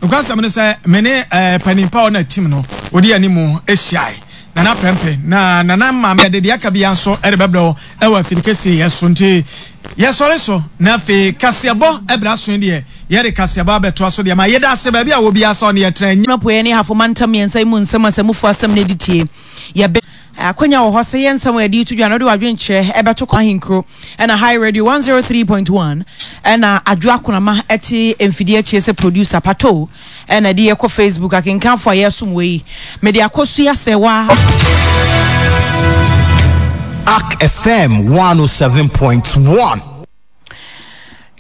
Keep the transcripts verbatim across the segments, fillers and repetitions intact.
Nokwasɛm no sɛ me ne eh, panimpa a ɔna team no ɔdi anim ahyiae, Nana Prɛmpɛ na Nana Maame. Yɛde deɛ aka bia nso ɛde bɛbrɛ wo ɛwɔ afiri kɛseɛ yɛ so. Nti yɛsɔre so na afei kaseɛbɔ ɛbrɛ aso yi deɛ, yɛde kaseɛbɔ abɛtoa so deɛ ma yɛda ase baabi a wɔ biara sɛ ɔne yɛtena. Apueɛ ne Ahafo mantam mmiɛnsa yi mu nsɛm asɛmufo asɛm no adi tie. Yɛbɛ akwanya wɔ hɔ sɛ yɛ nsɛm a yɛde to dwa no, wode w'adwenkyerɛ ɛbɛto kɔ ahenkuro ɛna High Radio one oh three point one, ɛna Adwo Akonama ɛte mfidie akyie sɛ producer Pato, ɛna de yɛkɔ Facebook akenkanfo a yɛsom wɔ yi, mede akɔsua sɛ wa Ark F M one oh seven point one.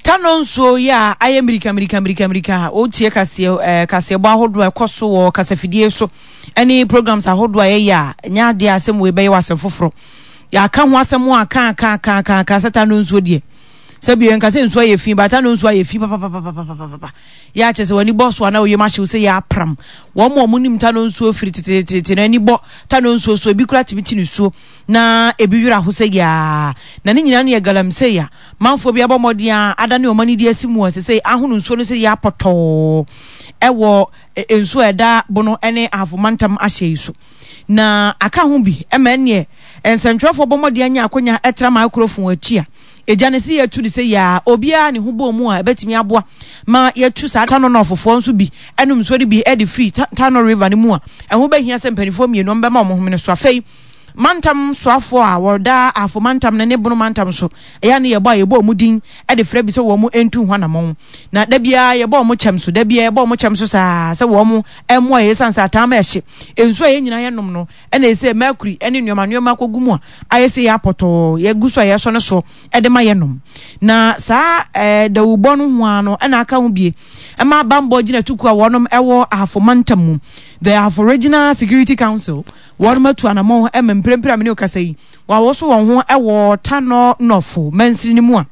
Tano nsuo yi a ayɛ mmirika mmirika mmirika mmirika a wotie kaseɛ ɛɛ kaseɛbɔ ahodoɔ a ɛkɔ so wɔ kasafidie so ɛne programs ahodoɔ a yɛyɛ a, ɛnyɛ adeɛ a asɛm wei bɛyɛ wɔ asɛm foforɔ. Yɛaka ho asɛm a ka ka ka ka ka sɛ Tano nsuo deɛ, sɛbi yɛnka sɛ nsuo ayɛ fi ba, Tano nsuo ayɛ fi papapapapapapa. Yɛ akyɛ sɛ w'ani bɔ so a na oyam ahyew sɛ yɛ apram wɔn a wɔn nim Tano nsuo firi tetetete na ani bɔ Tano nsuo so, ebi kura tumi ti ne suo na ebi werɛ aho sɛ yaa na ne nyinaa no yɛ galamsey a manfoɔ bi abɔ mmɔden a adane wɔn ani de asi mu a sɛ ahono nsuo no sɛ yɛ apɔtɔɔ ɛwɔ nsuo a ɛda Bono ne Ahafo mantam ahyɛ yi so. Na aka ho bi ɛma ɛneɛ nsɛntwerɛfoɔ bɔ mmɔden anya akonnwa ɛtra microphone akyi a egya ne si yɛtu de sɛ yaa obiara ne ho bɔ mu a ɛbɛtumi aboa ma yɛtu saa Tano nɔɔfofoɔ nso bi ɛnum nsuo no bi ɛde firi Tano River no mu a ɛho bɛhia sɛ mpanimfoɔ mmienu bɛma wɔn homene so. Afei mantam soafoɔ a wɔda Ahafo mantam no ne Bono mantam so, ɛyɛ ne yɛbɔ a yɛbɔ ɔmo din ɛde frɛ bi sɛ wɔn ntu ho anammɔn, na da biara yɛbɔ ɔmo kyɛm so, da biara yɛbɔ ɔmo kyɛm so saa sɛ wɔn mmoa yɛ, esan sɛ ataama ɛhye nsuo a yɛn nyinaa yɛnom no ɛna ɛsɛ mercury ɛne nneɛma nneɛma akɔgu mu a ayɛ sɛ yɛ apɔtɔɔ yɛgu so a yɛsɔ no so ɛde ma yɛnom. Na saa ɛɛ dawubɔ no ho ano ɛna aka ho bie ɛma bambɔ gyina tuku a wɔnom ɛwɔ Ahafo mantam mu, the Ahafo Regional Security Council, wɔn atu anammɔn ɛma mprempren a mene okasa yi wɔawoso wɔn ho ɛwɔ Tano North mansini no mu a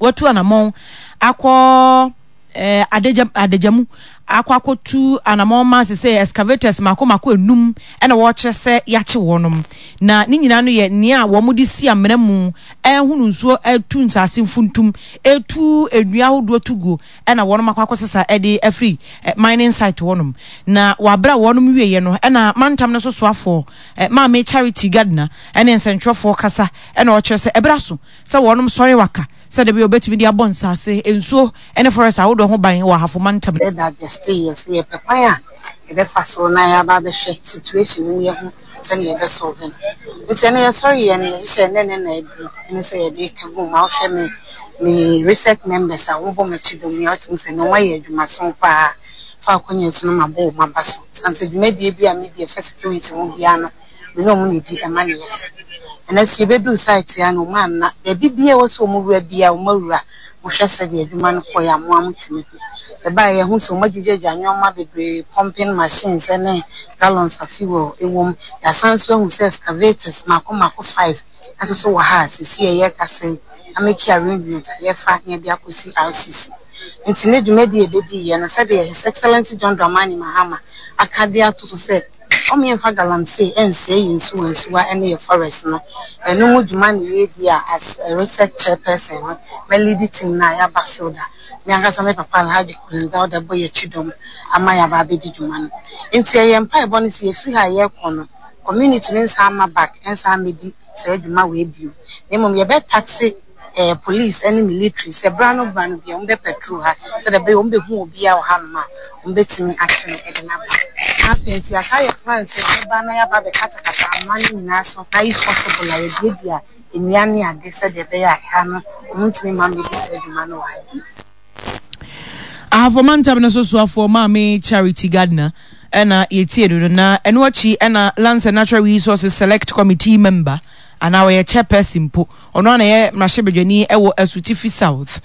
wɔatu anammɔn akɔ ɛɛ adagya adagya mu akɔ akɔtu anammɔn ma sɛ excavators mako mako enum ɛna wɔrekyerɛ sɛ yɛakye wɔnom. Na ne nyinaa no yɛ nea wɔn de si amena mu ɛhunu nsuo, ɛtu nsaase mfuntum, ɛtu nnua ahodoɔ tu guo, ɛna wɔnom akɔ akɔsesa ɛde afiri mining site wɔnom. Na wabere a wɔnom wieɛ no, ɛna mantam no so soafoɔ ɛ Maame Charity Gardner ɛne nsɛntwerɛfoɔ kasa, ɛna ɔkyerɛ sɛ ɛbɛrɛ so sɛ wɔnom sɔre waka sɛdeɛ bi obetumi de abɔ nsaase, nsuo ɛne forest ahodoɔ ho ban wɔ Ahafo mantam. Ɛda gyeste yɛ sɛ yɛpɛ kwan a yɛbɛfa so na yɛaba abɛhwɛ situation no mu, yɛho sɛnea yɛbɛsolve no. Nti ɛno yɛsɔre yɛ no, yɛhyehyɛ ne ne na aduru ɛne sɛ yɛde ka gu ma wohwɛ me me research members a wɔbɔ m'akyi dɔm yi a, wotumi sɛ na wɔayɛ adwumaso paa fa akɔnya so no ma bɔ wɔn aba so sane sɛ dwumadie bi a medi ɛfa security ho biara no, me ne ɔmo na ɛdi ɛma ne yɛ fɛ. Ɛnɛ so yɛbɛduru site a na ɔmo anna baabi bia ɛwɔ sɛ ɔmo wura bia ɔmo awura. Mohwɛ sɛdeɛ adwuma no kɔɛ a, mo a motumi hu ɛbaa yɛho sɛ ɔmo agyegyagya nneɛma bebree, pumping machines ne gallons a fuel ɛwɔ mu. Yɛasan so ahu sɛ excavators mako mako five nso so wɔ ha a sisi a yɛrekasa yi amake arrangement a yɛfa na yɛde akɔsi R C C. Nti ne dwumadi a yɛbɛdi yɛ no, sɛdeɛ His Excellency John Dramani Mahama aka de ato so sɛ ɔmo yɛmfa galamsey ɛnsɛe yɛn nsuwa nsuwa ne yɛ forest no, ɛno mu dwuma na yɛredi a as a research chairperson no, mɛlead team no a yɛaba field a me ankasa me papa Alhaji Collins Dauda bɔ yɛ akyi dɔm ama yɛaba abɛdi dwuma no. Nti ɛyɛ mpaebɔ no sɛ yɛfiri ha a yɛrekɔ no, community no nsa ama back nsa amɛdi saa adwuma wei bio, na mmom yɛbɛtask eh, police ne military sɛ bra no bra no bia wɔn bɛ patrol ha sɛdeɛ ɛbɛyɛ wɔn bɛhu obiara wɔ hanom a wɔn bɛtumi akye no de n'aba. Na afei nso yɛaka yɛ plan sɛ yɛba na yɛaba abɛkatakata ama no nyinaa so, na if possible a yɛduadua nnua ne ade sɛdeɛ ɛbɛyɛ a ɛha no wɔn ntumi mma mmɛdi saa adwuma no wɔ ha bio. Ahafo mantam no so soafoɔ Maame Charity Gardner ɛna yɛtie no no Na ɛno akyi ɛna Lands and Natural Resources Select Committee member anaa ɔyɛ chairperson mpo, ɔno ana yɛ mmarahyɛbadwani ɛwɔ Asutifi South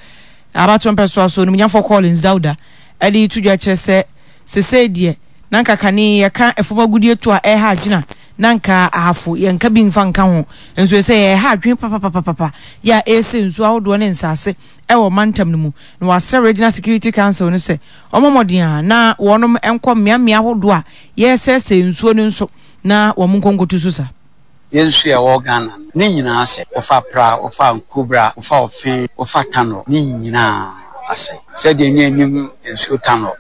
abato mpɛsoa so, onimnyafo Collins Dauda ɛde to dwa kyerɛ sɛ sesei deɛ na nka kane yɛka ɛfam agudie to a ɛha adwena na nka Ahafo yɛnka bi mfa nka ho, nso sɛ yɛha adwene papapapapa yɛ a ɛsɛ nsuo ahodoɔ ne nsase ɛwɔ mantam no mu. Na wɔasrɛ Regional Security Council no sɛ ɔmɔ mmɔden a na wɔnom nkɔ mmeammea ahodoɔ a yɛsɛsɛ nsuo no nso na wɔn nkonkoto so sa. Yɛn nsuo a ɛwɔ Ghana no ne nyinaa sɛ wofa Pra, wofa Nkobra, wofa Ɔfe, wofa Tano, ne nyinaa asɛ sɛdeɛ ne anim nsuo Tano.